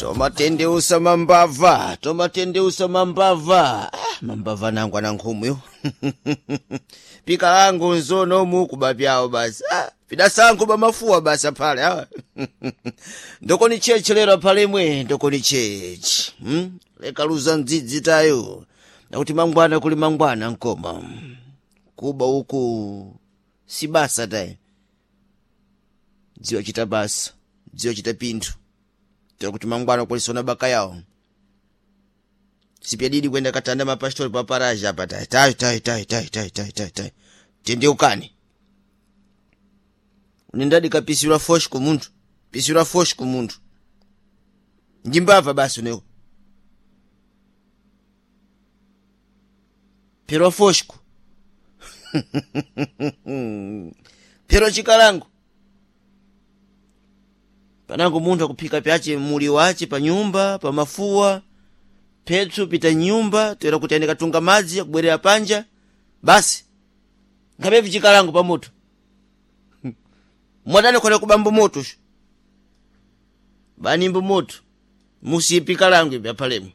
Tomatendeusa mambava, tomatendeusa mambava. Ah, mambava nangu ana nkhumwe pika langu nzonomu kubapyawo basi. Ah, pidasankho bamafuwa basi aphale. Ah. Ndokoni chechi lero aphalemwe, ndokoni chechi. Lekaluza mdzidzi tayo nakuti mangwana kuli mangwana nkoma kuba uku si basa tayi. Dziwa chita basa, dziwa chita pinthu tira kuti mangwana kulisona baka yawo sipyadidi kwenda katanda mapastori paparaja apa tayi tayi tayi tayi tayi tayi tayi tayi tayi tendeukani unendadi kapisirwa foshi kumunthu, pisirwa foshi kumunthu njimbava basi uneko phirwa foshko phirwa chikalango panango munthu akuphika pyace muli wace pa nyumba pa mafuwa phetsu pita nyumba toera kuti ane katunga madzi akubwerera panja basi nkhapepi chikalango pa moto mwadani khona kubambo moto sho banimbo moto musiye kalango ipi aphalemo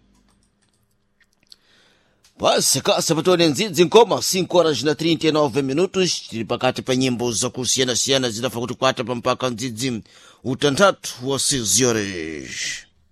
basi kasa patone ndzidzi nkoma 5 horas na 39 minutos tili pakati pa nyimbo zakusiyanasiyana zidafa kuti kwata pa mpaka ndzidzi utanthatu wa 6 horas.